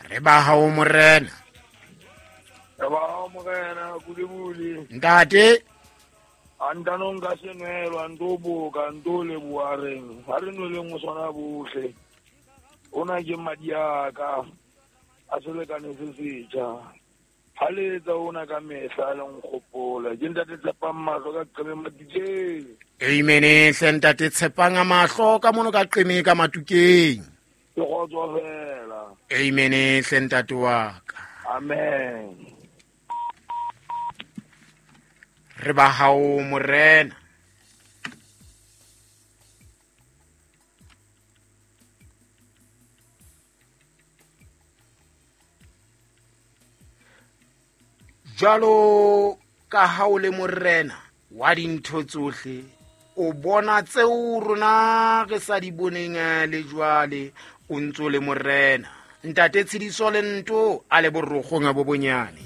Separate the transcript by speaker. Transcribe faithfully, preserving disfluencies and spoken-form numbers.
Speaker 1: Re ba hao morena.
Speaker 2: Re ba hao morena Bulebule.
Speaker 1: Ntate
Speaker 2: a ntano nka senwelo a nto boka nto leboha reng ha re nweleng o swana bohle ona ke madi a ka a selekane se setjha ha le etsa ona ka mehla le nkgopola ke ntate Tshepang Mahlo ka Qeme Matukeng.
Speaker 1: Amen hle ntate Tshepang Mahlo ka mono ka Qeme ka Matukeng.
Speaker 2: Ke kgotso fela.
Speaker 1: Amen hle ntate wa ka.
Speaker 2: Amen.
Speaker 1: Re ba hao morena. Jwalo ka ha o le morena wa dintho tsohle o bona tseo rona re sa di boneng le jwale o ntso le morena. Ntate Tshidiso le nto a le borokgong bo bonyane.